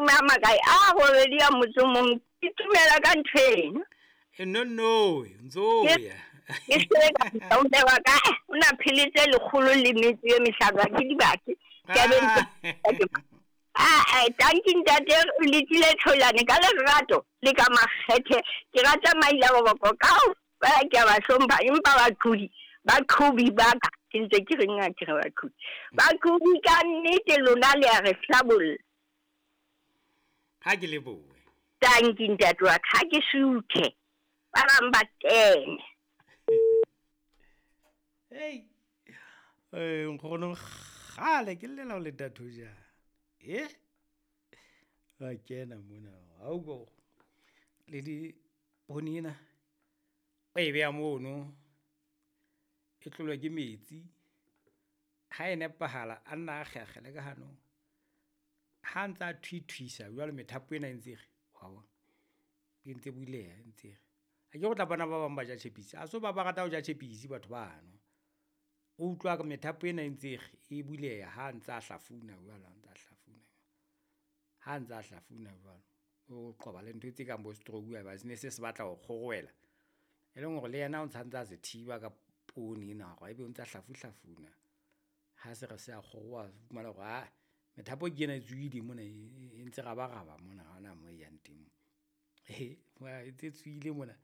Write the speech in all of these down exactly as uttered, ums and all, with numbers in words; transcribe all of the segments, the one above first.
mashome a makae a robedi a motso mong. Ke tumela ka ntho eno. E no no, ntso ya. Ke se ka o wa ka o na pheletse lekgolo le metso e mehlano ke dibaki. Ke be ah eh tanki ntate le tlile tholane ka lerato le ka makgethe. Ke rata maila boboko ka ba ke ba hlompha empa ba qhudi ba qhubi ba ka ke ntse ke reng a ke re ba qhubi ba qhubi ka nnete lona le a re hlabolla. Ha ke lebohe. Tanki ntate wa ka ke suthe ba bang ba teng. Hey eh nkgono kgale ke llela ho le datho ja. Eh ba kena mona ha o go le di poone ena o e beha mono e tlolwa ke metsi ha e nepahala a nna a kgekgele ka hanong ha ntsa a thwithwisa jwale methapo ena e ntse re wa bona e ntse buleha e ntse re a ke go tla bona ba bang ba ja tjhepisi a so ba ba rata ho ja tjhepisi batho bano o utlwa ka methapo ena e ntse re e buleha ha ntsa a hlafuna jwale ha ntsa a hlafuna ha ntsa a hlafuna jwalo o qoba le ntho tse kang bo stroke ba se ne se se batla ho kgorwela e leng hore le yena o ntsa a se thiba ka poone ena hore ebe o ntsa hlafu hlafuna ha se re se a kgoroa fumana hore ha methapo ke ena e tswile mona e ntse rabaraba mona ha ona mo e yang teng e ntse tswile mona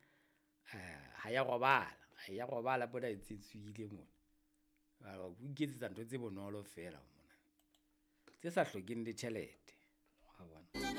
ha ya robala ha ya robala pona e ntse tswile mona. O iketsetsa ntho tse bonolo feela mona tse sa hlokeng le tjhelete wa bona.